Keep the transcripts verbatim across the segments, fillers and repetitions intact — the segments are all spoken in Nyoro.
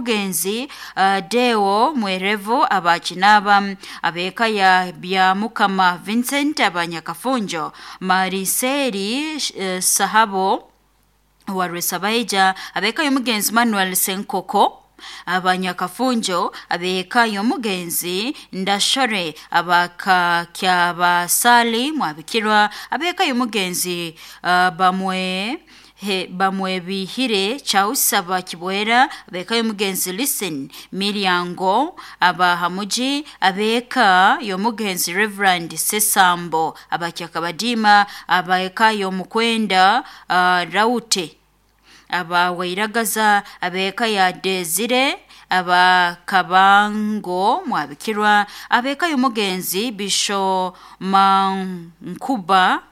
y'omugenzi uh, Deo Mwerevu abakinaba, abeka ya Byamukama Vincent abanyakafunjo, Mariseri uh, Sahabo wa Rwesabaija, abeka y'omugenzi Manuel Senkoko abanyakafunjo, abeka y'omugenzi Ndashore abakakyabasali mwabikirwa, abeka y'omugenzi uh, bamwe he bamwebihire Charles abakibwera, abeka y'omugenzi Listen Miryango abahamuji, abeka y'omugenzi Reverend Sesambo abakyakabadima, abeka y'omukwenda uh, Raute abawairagaza, abeka ya Desire abakabango mwabikirwa, abeka y'omugenzi Bisho Mankuba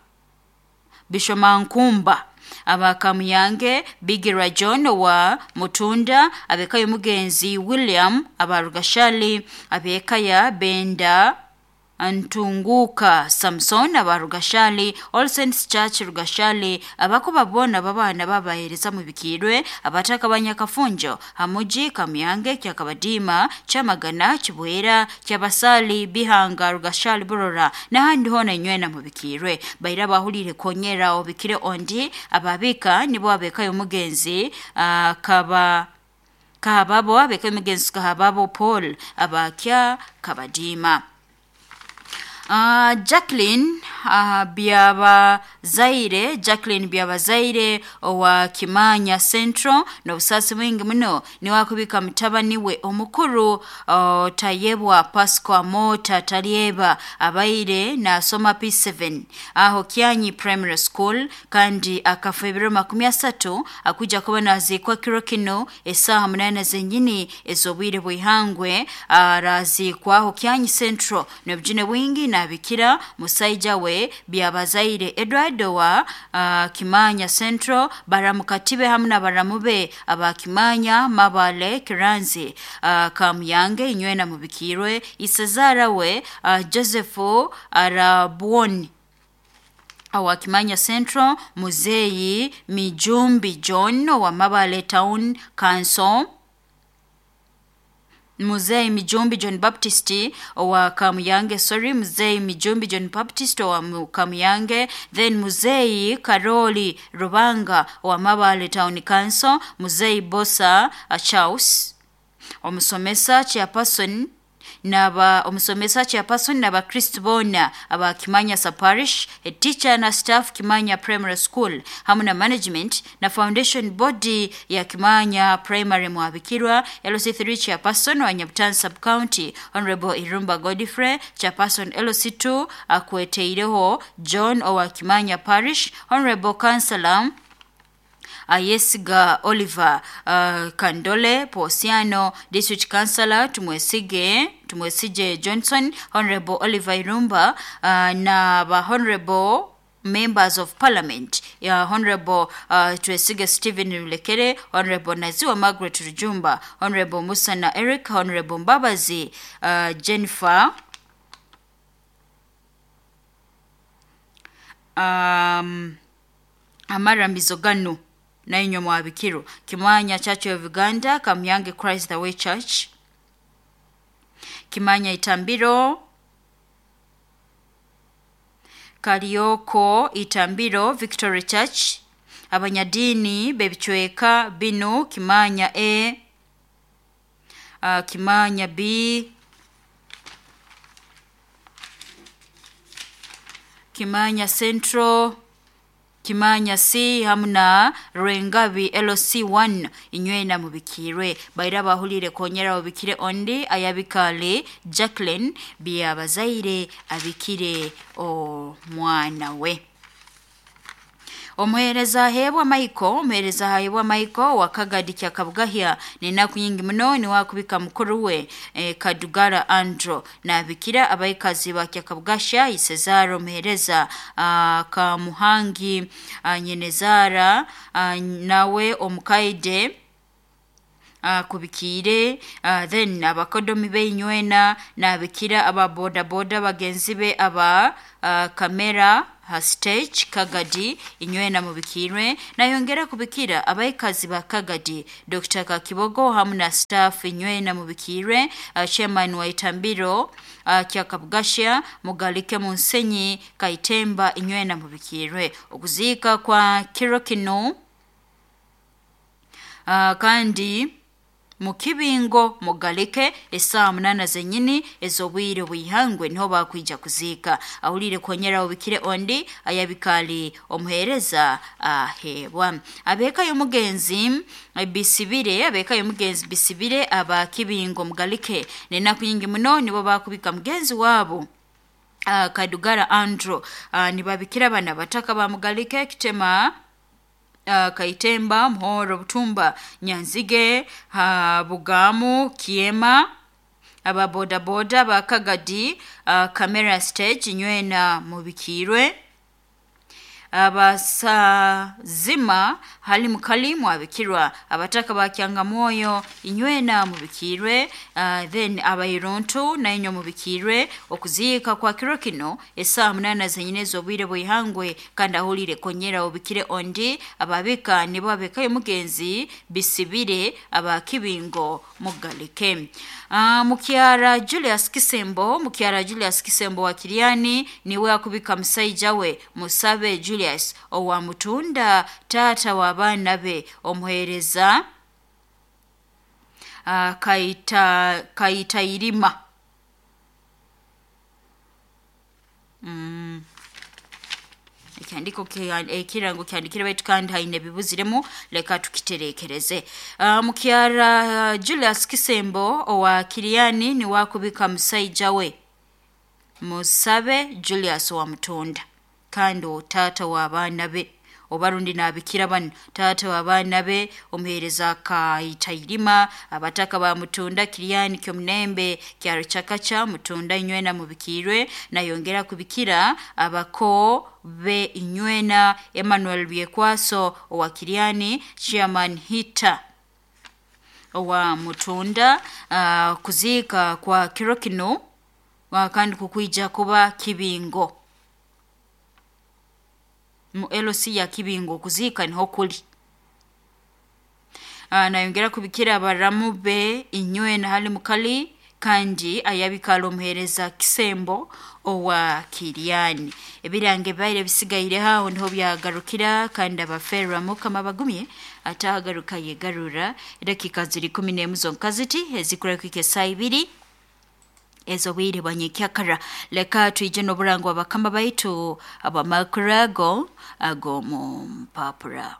Bisho Mankumba abakamuyange, Bigira John wa Mutunda, abeka y'omugenzi William abarugashali, abeka ya Benda Ntunguka Samson abarugashali, All Saints Church Rugashali, abakuba bona babana babahereza mu bikirwe, abataka banyakafunjo hamuji Kamuyange kyakabadima Chamagana Kibwera Kyabasali Bihanga Rugashali Burora n'ahandi hona inywena mu bikirwe. Baira bahulire konyera obikire ondi ababika nibo abekayo mugenzi uh, kaba kahababo abekayo mugenzi kahababo Paul abakya kabadima. Uh, Jacqueline uh, Byabazaire Jacqueline Byabazaire owa Kimanya Central n'obusasi bwingi muno niwakubika mutabani we omukuru uh, Tayebwa Pascal Mota Talyeba abaire nasoma P seven aho Kyanyi Primary School kandi akafa ebiro makumi asatu akuja kuba nazikwa kiro kino esaha munana zenyini ez'obwire bw'ihangwe arazikwa aho Kyanyi Central n'obujune bwingi nabikira musaija we Byabazaire Edward wa uh, Kimanya Central, baramukatibe hamwe na baramube aba Kimanya Mabale Kiranzi uh, Kamuyange inywena mubikirwe, isezara we uh, Joseph Arabuoni awa Kimanya Central, Muzeyi Mijumbi John wa Mabale Town Council, Muzei Mijumbi John Baptist wa Kamuyange, sorry, Muzei Mijumbi John Baptist wa Kamuyange, then Muzei Karoli Rubanga wa Mabale Town Council, Muzei Bosa uh, Charles omusomesa chairperson naba omusomesa chairperson naba Kristo bona aba Kimanya Parish, a teacher na staff Kimanya Primary School hamwe na management na foundation body ya Kimanya Primary mwabikirwa, L C three chairperson wa Nyabutan Sub County Honorable Irumba Godfrey, chairperson L C two akweteireho John owa Kimanya Parish, Honorable Councillor Ayesiga Oliver uh, Kandole Posiano, District Councillor Tumwesige Tumwesije Johnson, Honorable Oliver Irumba uh, na ba Honorable Members of Parliament ya Honorable uh, Twesige Stephen Rulekere, Honorable Naziwa Margaret Rujumba, Honorable Musana Eric, Honorable Mbabazi uh, Jennifer um, Amaramizo ganu na inywa mwabikiro Kimanya Church of Uganda, Kamyange Christ the Way Church, Kimanya Itambiro, Karioko Itambiro Victory Church, abanyadini bebichweka binu Kimanya A, uh, Kimanya B, Kimanya Central, Kimanya C hamna Rwengabi L C one inywena mubikirwe. Baira bahulire konyera mubikire ondi ayabikale Jacqueline Byabazaire abikire omwana we. Omuhereza hebwa Michael, omuhereza hebwa Michael wa Kagadi kya Kabugahya nenaku nyingi muno ni wakubika mukuru we e, Kadugara Andro na bikira abaikazi ba kya Kabugasha Isezaro omuhereza Kamuhangi a, Nyenezara a, nawe omukaide uh, kubikiire uh, then abakodomi beinywena nabikira aba boda boda bagenzi be aba uh, kamera hastage Kagadi inywena mubikirwe. Nayongera kubikira abaikazi ba Kagadi Doctor Kakibogo hamu na staff inywena mubikirwe. uh, chairman wa Itambiro uh, Kyakabugashya Mugalike Munsenyi Kaitemba inywena mubikirwe. Okuziika kwa kiro kino uh, kandi mukibingo Mugalike esaa munana zenyini ez'obwire bwihangwe niho bakwija kuziika. Ahulire konyera obikire ondi ayabikali omuhereza ahebwa. Abeka y'omugenzi Bisibire, abeka y'omugenzi Bisibire aba Kibingo Mugalike nenaku nyingi muno nibo bakubika mugenzi wabo uh, Kadugara Andrew. uh, nibabikira bana bataka ba Mugalike Kitema Uh, Kaitemba Muhoro Butumba Nyanzige uh, Bugamu Kiema aba boda boda ba Kagadi uh, kamera stage inywena mubikirwe. Abasazima hali mukali mwabikirwa. Abataka ba Kyangamoyo inywena mubikirwe. uh, then abairuntu na inyo mubikirwe. Okuziika kwa kiro kino esaa munana zenyine z'obwire bwihangwe kandi ahulire konyera obikire ondi ababika nibo abekayo mugenzi Bisibire aba Kibingo Mugalike. uh, Mukyara Julius Kisembo, Mukyara Julius Kisembo wa Kiriani niwe akubika musaija we Musabe Julius owa Mutunda tata wa baana be omuhereza uh, kaita kaitairima mm. Ekihandiko ekirango kyandikire baitu kandi haine bibuziremu leka tukiterekereze. uh, Mukyara uh, Julius Kisembo owa Kiriani ni wakubika musaija we Musabe Julius wa Mutunda kandi tata wa baana be obarundi nabikira bano tata wa baana be omuhereza Kaitairima. Abataka ba Mutunda Kiriani Kyomunembe Kyaruchakacha Mutunda inywena mubikirwe. Nayongera kubikira abako be inywena Emmanuel Byekwaso owa Kiriani, chairman Hita owa Mutunda. uh, kuziika kwa kiro kino kandi kukwija kuba Kibingo mu L C ya Kibingo kuziika niho kuli. Uh, nayongera kubikira abaramu be inywena hali mukali kandi ayabikala omuhereza Kisembo owa Kiriani. Ebirange baire bisigaire haho niho byagarukira kandi abaferwa mukama bagumye atagaruka yegarura. Edakika ziri kumi n'emu zonka ziti ezikura kwike saa ibiri ezo bwire bwanyekyakara. Leka twije n'oburango abakama baitu abamakurago ago mu mpapura.